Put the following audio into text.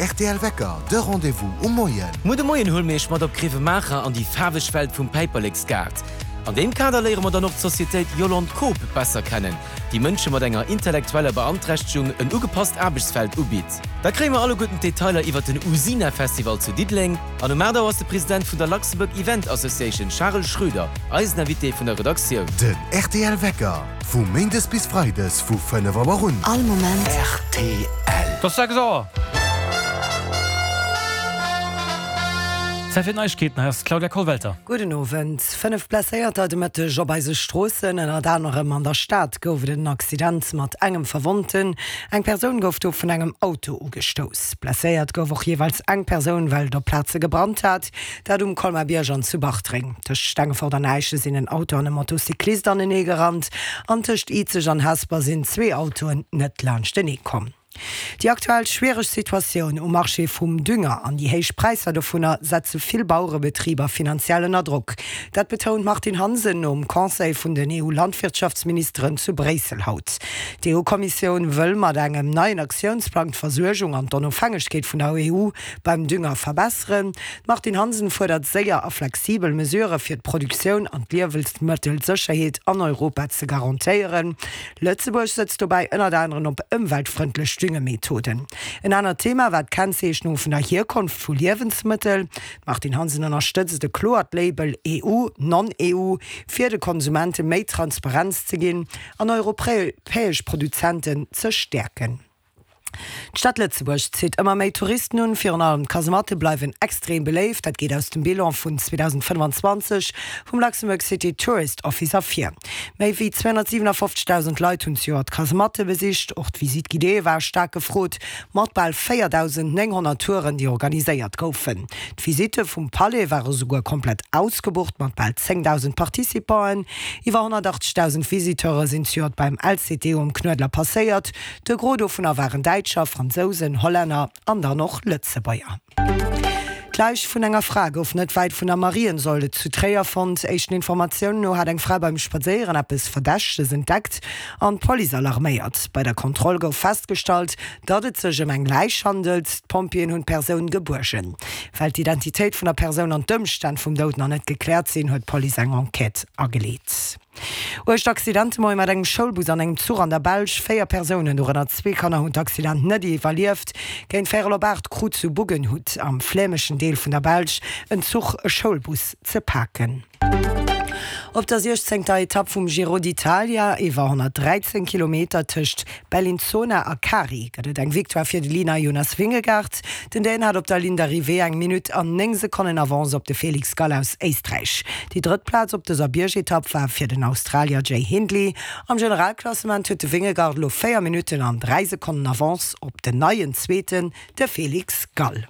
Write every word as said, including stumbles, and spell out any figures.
R T L Wecker, de Rendez-vous um Moien. Muer de Moien huele mir iech mat op Grevenmacher an déi faarweg Welt vum Päiperleksgaart. An deem Kader léiere mer dann och d'Societéit Yolande Coop besser kennen, déi Mënsche mat enger intellektueller Beanträchtegung en ugepasst Aarbechtsfeld ubitt. Da kréie mer alleguerten d'Detailer iwwer den Usina Festival zu Diddeleng an um aacht Auer ass de President vun der Luxembourg Event Association Charel Schroeder eisen Invité vun der Redaktioun. Den R T L Wecker vu Méindes bis Freides vu fënnef Auer un. All Moment. R T L. Et ass sechs Auer. Zäit fir d'Neiegkeeten, hei ass d'Claudia Kollwelter. Gudden Owend. Fënnef Blesséierter de Mëtteg op eise Stroossen, ënnert anerem an der Stad gouf et en Accident mat engem Verwonnten. Eng Persoun gouf do vun engem Auto ugestouss. Blesséiert gouf och jeeweils eng Persoun, well et op Plaze gebrannt hat, dat um Colmar-Bierg an zu Bartreng. Tëscht Stengefort an Äischen sinn en Auto an e Motocyclist anenee gerannt an tëscht Izeg an Hesper sinn zwee Autoen net laanschtenee komm. Déi aktuell schwiereg Situatioun um Marché vum Dünger an déi héich Präisser dovunner setze vill Bauerebetriber finanziell ënner Drock. Dat betount d'Martine Hansen nom Conseil vun den E U-Landwirtschaftsministeren zu Bréissel haut. D'E U-Kommissioun wëll mat engem neien Aktiounsplang d'Versuergung an d'Onofhängegkeet vun der E U beim Dünger verbesseren. D'Martine Hansen fuerdert séier a flexibel Mesurë fir d'Produktioun an d'Liewensmëttelsécherheet an Europa ze garantéieren. Lëtzebuerg setzt dobäi ënnert anerem op ëmweltfrëndlech Düngemethoden. En anert Thema war d'Kennzeechnung vun der Hierkonft vu Liewensmëttel. D'Martine Hansen ënnerstëtzt e kloert Label E U, Non-E U, fir de Konsumente méi Transparenz ze ginn an europäesch Produzenten ze stäerken. D'Stad Lëtzebuerg zitt ëmmer méi Touristen un, virun allem d'Kasematte bleiwen extrem beléift. Dat geet aus dem Bilan vun zweedausendfënnefanzwanzeg vum Luxembourg City Tourist Office ervir. Méi wéi zweehonnertsiwenafoffzegdausend Leit hunn zejoert d'Kasematte besicht. Och d'Visite guidée war staark gefrot, mat bal véierdausendnénghonnert Touren, déi organiséiert goufen. D'Visitte vum Palais ware souguer komplett ausgebucht, mat bal zéngdausend Participanten. Iwwer honnertachtzegdausend Visiteure sinn zejoert beim L C T O um Knuedler passéiert. De Gros dovunner waren Däitscher, Fransousen, Hollänner an dann och Lëtzebuerger. D'Läich vun enger Fra gouf net wäit vun der Mariensäule zu Tréier fonnt. Éischten Informatiounen no hat eng Fra beim Spadséieren eppes Verdächteges entdeckt an d'Police alarméiert. Bei der Kontroll gouf festgestallt, datt et sech ëm eng Läich handelt. D'Pompjeeën hunn d'Persoun gebuergen. Well d'Identitéit vun der Persoun an d'Ëmstänn vum Doud nach net gekläert sinn, huet d'Police eng Enquête ageleet. Uergt Accident de Moie mat engem Schoulbus an engem Zuch an der Belsch. Véier Persounen, dorënner zwee Kanner, hunn d'Accident net iwwerlieft. Géint véierel op aacht krut zu Buggenhout am flämeschen Deel vun der Belsch en Zuch e Schoulbus ze paken. Op der siechzéngter Etapp vum Giro d'Italia iwwer honnertdräizéng Kilometer tëscht Bellinzona a Cari gëtt et eng Victoire fir de Lina Jonas Vingegaard. Den Dän hat op der Ligne d'arrivée eng Minutt an néng Sekonnen Avance op de Felix Gall aus Éisträich. Déi drëtt Plaz op dëser Biergetapp war fir den Australier Jay Hindley. Am Generalklassement huet de Vingegaard elo véier Minutten an dräi Sekonnen Avance op den neien Zweeten, de Felix Gall.